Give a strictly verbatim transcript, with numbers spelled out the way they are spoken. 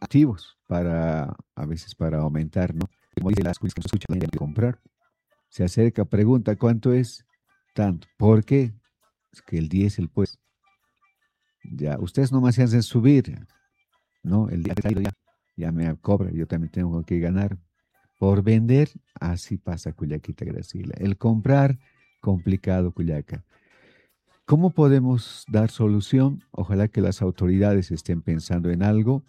activos para, a veces para aumentar, ¿no? Como dice las cosas que se escucha, la gente quiere comprar. Se acerca, pregunta, ¿cuánto es? Tanto. ¿Por qué? Es que el diésel, pues. Ya, ustedes no me hacen subir, ¿no? El día ya, ya me cobra, yo también tengo que ganar. Por vender, así pasa, kullakita Graciela. El comprar, complicado, kullaka. ¿Cómo podemos dar solución? Ojalá que las autoridades estén pensando en algo